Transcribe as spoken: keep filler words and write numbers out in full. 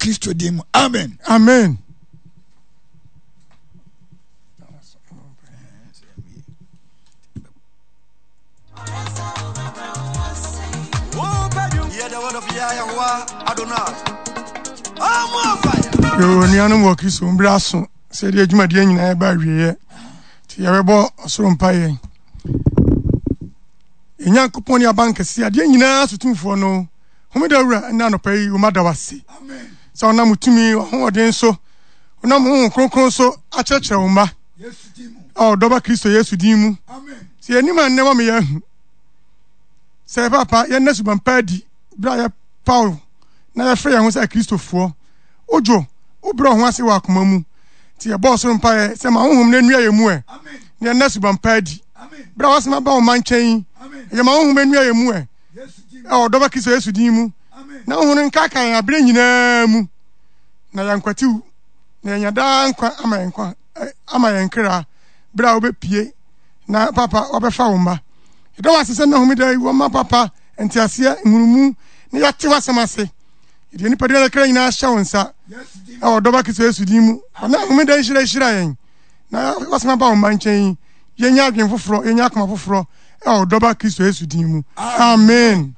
Kristo din mu. Amen. Amen. Yo, nuanom wɔ Kristo mu, berɛ aso sɛ yɛde adwumadeɛ nyinaa ɛba awieeɛ, nti yɛbɛbɔ ɔsoro mpaeɛ. Yɛn Nyankopɔn ne abankɛseɛ, adeɛ nyinaa so tumfoɔ no, Homeda Wura, ɛnɛ anɔpa yi, woma da wase sɛ ɔnam wo tumi, w'ahoɔden so, wonam Honhom Kronkron so akyerɛkyerɛ wo mma a ɔdɔba Kristo Yesu din mu. Sɛ yɛnim a nnɛ wama yɛahu sɛ papa yɛnna suban pa adi berɛ a yɛpaw na yɛfrɛ yɛn ho sɛ Akristofoɔ. Wodwo, wobrɛ wo ho ase wɔ akoma mu. Nti yɛbɔ ɔsoro mpaeɛ sɛ ma honhom no nnua yɛn mu ɛ, na yɛnna suban pa adi. Berɛ a woasoma ba wo mma nkyɛn yi, ɛyɛ ma honhom nnua yɛn mu ɛ, ɛwɔ ɔdɔba Kristo Yesu din mu, na honhom no nkaakae yɛn aberɛ nyinaa mu, na yɛankwatiw, na yɛanya daa nkwa ama yɛn nkwa, ama yɛn kra, berɛ a wobɛpue na papa wabɛfa wo mma. Yɛda wo ase sɛ nnɛ homeda yi wɔma papa nteaseɛ, nhunumu, na yɛate w'asɛm ase. Yɛde yɛn nipadua ne kra nyinaa hyɛ wo nsa ɛwɔ dɔba Kristo Yesu din mu. Ɔna homeda yi hyira hyira yɛn na wasɛm aba wo mma nkyɛn yi, yɛnya adwene foforɔ, yɛnya akoma foforɔ ɛwɔ dɔba Kristo Yesu din mu. Amen.